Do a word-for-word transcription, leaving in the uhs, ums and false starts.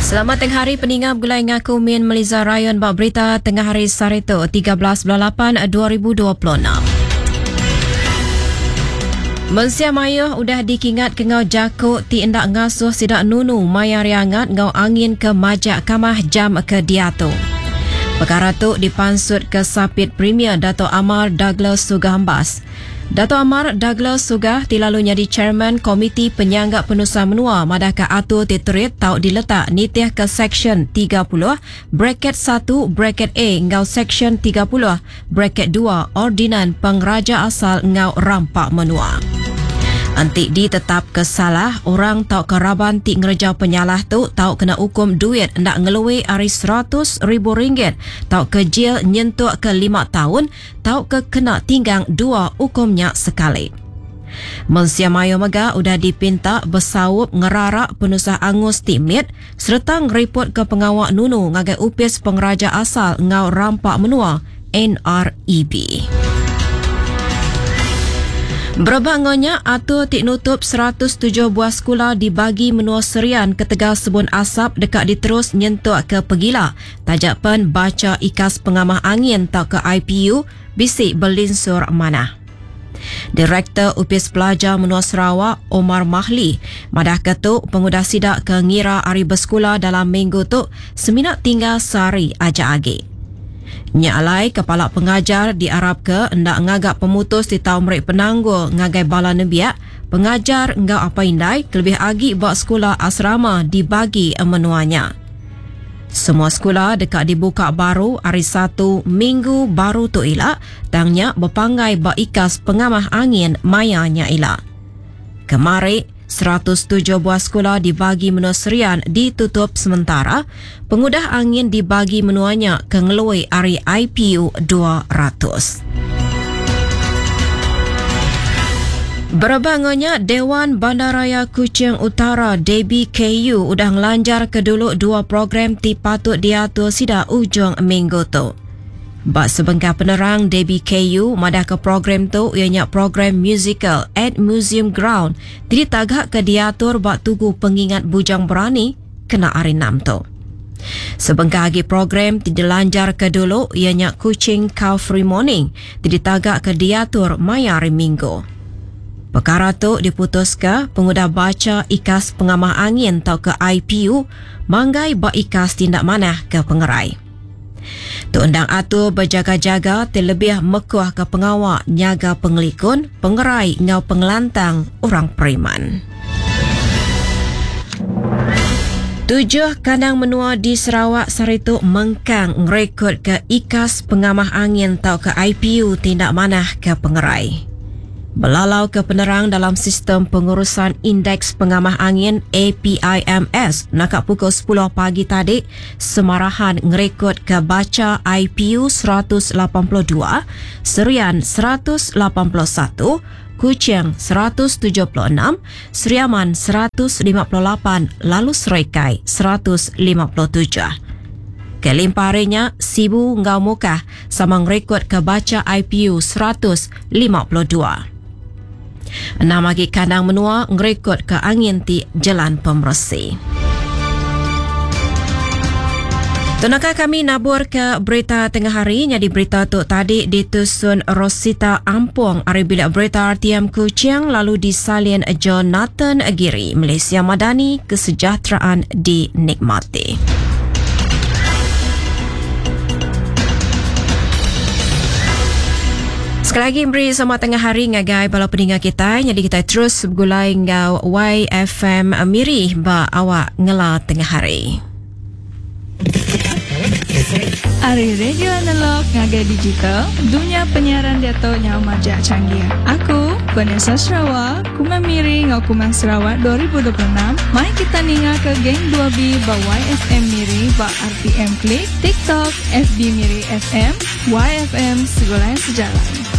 Selamat tengah hari peninga begulai ngaku Min Meliza Rayon bak berita tengah hari sehari tu tiga belas bulan lapan dua ribu dua puluh enam. Mensia mayuh udah dikingat ke ngau jako ti endak ngasuh sidak nunu maya riangat ngau angin ke majak kamah jam ke diatu. Perkara tu dipansut ke Sapit Premier Dato' Amar Douglas Uggah Embas. Dato' Amar Douglas Uggah ti lalu nyadi Chairman Komiti Penyanggap Penusa Menua madah ke atur ti terit tau diletak nitih ke Seksyen tiga puluh bracket satu bracket A ngau Seksyen tiga puluh bracket dua Ordinan Pengraja Asal ngau Rampak Menua. Enti ditetap ke salah, orang tau ke raban ti ngereja penyalah tu tau kena hukum duit ndak ngelui ari seratus ribu ringgit tau ke jil nyentuk ke lima tahun tau ke kena tinggang dua hukumnya sekali. Mensia mayo mega udah dipinta besaup ngerarak penusah angus ti mit serta ngeriput ke pengawak nunu ngagai Upis Pengeraja Asal ngau Rampak Menua N R E B. Berebak ngonya atur ti nutup seratus tujuh buah sekolah dibagi menua Serian ketegal sebun asap dekat diterus nyentuk ke Pegila. Tajak pen baca ikas pengamah angin tau ke I P U bisi belinsur manah. Direktur Upis Pelajar Menua Sarawak Omar Mahli madah ke tu pengudah sidak ke ngira ari bersekolah dalam minggu tu semina tinggal sehari aja agi. Nya alai kepala pengajar diarap ke ndak ngagak pemutus di tau merik penanggul ngagai bala nembiak, pengajar ngau apa indai kelebih agi bak sekolah asrama dibagi menuanya. Semua sekolah dekat dibuka baru hari satu minggu baru tu ila, tangnya berpanggai bak ikas pengamah angin mayanya ila. Kemari, seratus tujuh buah sekolah dibagi menua Serian ditutup sementara, pengudah angin dibagi menuanya ke ngelui ari I P U dua ratus. Berbangonya Dewan Bandaraya Kuching Utara D B K U udah ngelanjar ke dulu dua program ti patut diatur sida ujung minggu tu. Bak sebengkah penerang D B K U madah ke program tu ianya program musical at Museum Ground ti ditagak ke diatur bak tugu pengingat Bujang Berani kena hari enam tu. Sebengkah lagi program ti dilanjar ke dulu ianya Kuching Car Free Morning ti ditagak ke diatur maya hari Minggu. Perkara tu diputus ke pengudah baca ikas pengamah angin tau ke I P U manggai bak ikas tindak manah ke pengerai. Tu undang atur berjaga-jaga ti lebih mekuah ke pengawak nyaga pengelikun, pengerai ngau pengelantang orang periman. Tujuh kandang menua di Sarawak saritu mengkang ngerekod ke ikas pengamah angin tau ke I P U tindak manah ke pengerai. Belalau ke penerang dalam sistem pengurusan indeks pengamah angin A P I M S nakak pukul sepuluh pagi tadi semarahan ngerekod ke baca I P U seratus lapan puluh dua, Serian seratus lapan puluh satu, Kuching seratus tujuh puluh enam, Seriaman seratus lima puluh lapan, lalu Serikai seratus lima puluh tujuh. Kelimparinya, Sibu Ngau Mukah sama ngerekod ke baca I P U seratus lima puluh dua. Enam lagi kandang menua ngerekod ke angin ti jalan pemersi. Tunaka kami nabur ke berita tengah hari. Jadi berita tu tadi ditusun Rosita Ampong ari bilik berita R T M Kuching lalu disalin Jonathan Giri. Malaysia Madani, kesejahteraan dinikmati. Sekali lagi beri selamat tengah hari ngagai bala pendengar kita. Jadi kita terus bergulai ngau Y F M Miri ba awak ngela tengah hari. Ari radio analog ngagai digital, dunia penyiaran diato nyau majak canggih. Aku, Vanessa Sarawak, Kumang Miri ngau Kumang Sarawak dua ribu dua puluh enam. Mai kita ninga ke Geng dua B ba Y F M Miri ba R T M Klik, TikTok, F B Miri F M, Y F M Segulai Sejalan.